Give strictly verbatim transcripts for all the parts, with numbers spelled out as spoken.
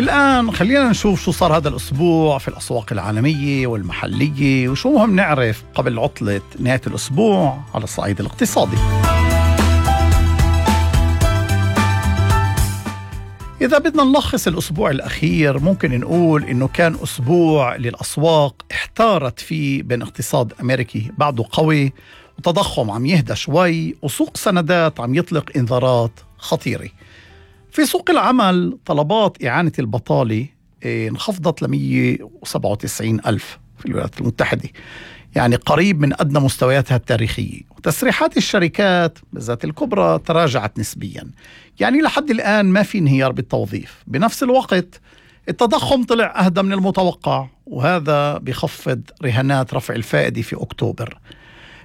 الآن خلينا نشوف شو صار هذا الأسبوع في الأسواق العالمية والمحلية وشو مهم نعرف قبل عطلة نهاية الأسبوع على الصعيد الاقتصادي. إذا بدنا نلخص الأسبوع الأخير ممكن نقول إنه كان أسبوع للأسواق احتارت فيه بين اقتصاد أمريكي بعده قوي وتضخم عم يهدى شوي وسوق سندات عم يطلق إنذارات خطيرة. في سوق العمل طلبات إعانة البطالة انخفضت ل مية وسبعة وتسعين ألف في الولايات المتحدة، يعني قريب من أدنى مستوياتها التاريخية، وتسريحات الشركات بالذات الكبرى تراجعت نسبيا، يعني لحد الآن ما في انهيار بالتوظيف. بنفس الوقت التضخم طلع أهدى من المتوقع وهذا بيخفض رهانات رفع الفائدة في أكتوبر،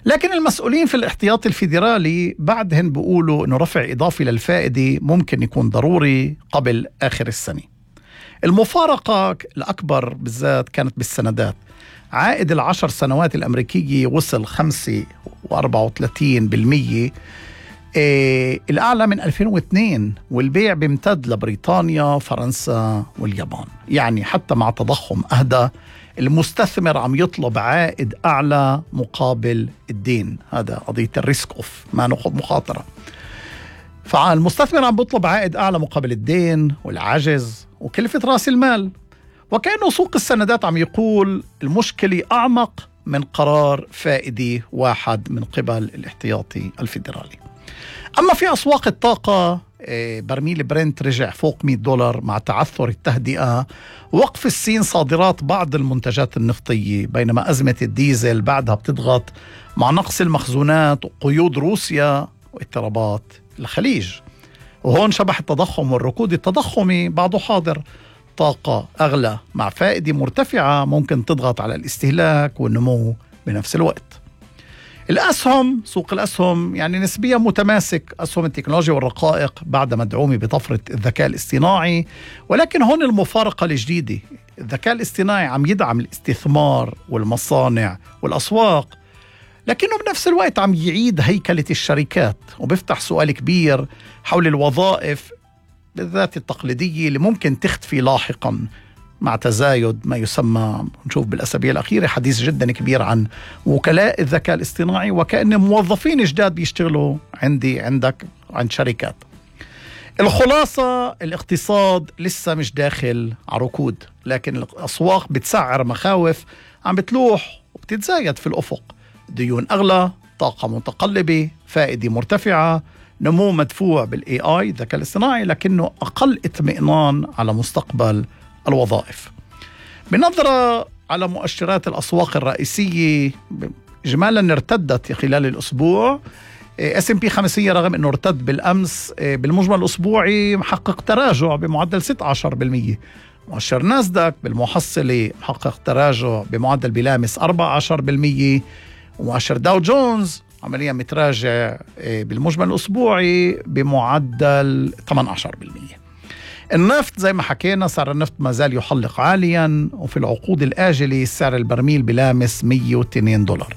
لكن المسؤولين في الاحتياطي الفيدرالي بعدهن بيقولوا إنه رفع إضافي للفائدة ممكن يكون ضروري قبل آخر السنة. المفارقة الأكبر بالذات كانت بالسندات. عائد العشر سنوات الأمريكية وصل خمسة وأربعة وثلاثين بالمية، إيه الأعلى من ألفين واثنين، والبيع بيمتد لبريطانيا فرنسا واليابان. يعني حتى مع تضخم أهدى المستثمر عم يطلب عائد أعلى مقابل الدين، هذا قضية الريسك أوف، ما نأخذ مخاطرة. فالمستثمر عم بيطلب عائد أعلى مقابل الدين والعجز وكلفة رأس المال، وكأنه سوق السندات عم يقول المشكلة أعمق من قرار فائدي واحد من قبل الاحتياطي الفيدرالي. أما في أسواق الطاقة برميل برنت رجع فوق مئة دولار مع تعثر التهدئة ووقف الصين صادرات بعض المنتجات النفطية، بينما أزمة الديزل بعدها بتضغط مع نقص المخزونات وقيود روسيا واضطرابات الخليج. وهون شبح التضخم والركود التضخمي بعده حاضر. طاقة أغلى مع فائدة مرتفعة ممكن تضغط على الاستهلاك والنمو بنفس الوقت. الأسهم، سوق الأسهم يعني نسبيا متماسك. أسهم التكنولوجيا والرقائق بعد مدعومة بطفرة الذكاء الاصطناعي، ولكن هون المفارقة الجديدة، الذكاء الاصطناعي عم يدعم الاستثمار والمصانع والأسواق، لكنه بنفس الوقت عم يعيد هيكلة الشركات وبيفتح سؤال كبير حول الوظائف بالذات التقليدية اللي ممكن تختفي لاحقا مع تزايد ما يسمى، نشوف بالأسابيع الأخيرة حديث جدا كبير عن وكلاء الذكاء الاصطناعي وكأن موظفين جداد بيشتغلوا عندي عندك عند شركات. الخلاصة الاقتصاد لسه مش داخل على ركود، لكن الأسواق بتسعر مخاوف عم بتلوح وبتتزايد في الأفق. ديون أغلى، طاقة متقلبة، فائدة مرتفعة، نمو مدفوع بالاي اي الذكاء الاصطناعي، لكنه أقل اطمئنان على مستقبل الوظائف. بنظرة على مؤشرات الأسواق الرئيسية إجمالا ارتدت خلال الأسبوع. اس ام بي خمسمية رغم أنه ارتد بالأمس بالمجمل الأسبوعي محقق تراجع بمعدل ستة عشر بالمية. مؤشر ناسداك بالمحصلة محقق تراجع بمعدل بلامس أربعة عشر بالمية، ومؤشر داو جونز عمليا متراجع بالمجمل الأسبوعي بمعدل ثمانية عشر بالمية. النفط زي ما حكينا سعر النفط ما زال يحلق عاليا، وفي العقود الآجلة سعر البرميل بلامس مية واثنين دولار.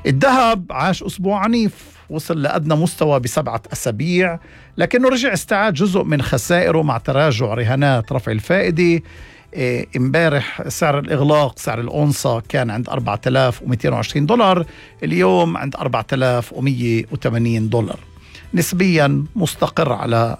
الذهب عاش أسبوع عنيف، وصل لأدنى مستوى بسبعة أسابيع، لكنه رجع استعاد جزء من خسائره مع تراجع رهانات رفع الفائدة. امبارح سعر الإغلاق سعر الأونصة كان عند أربعة آلاف ومئتين وعشرين دولار، اليوم عند أربعة آلاف ومئة وثمانين دولار، نسبيا مستقر على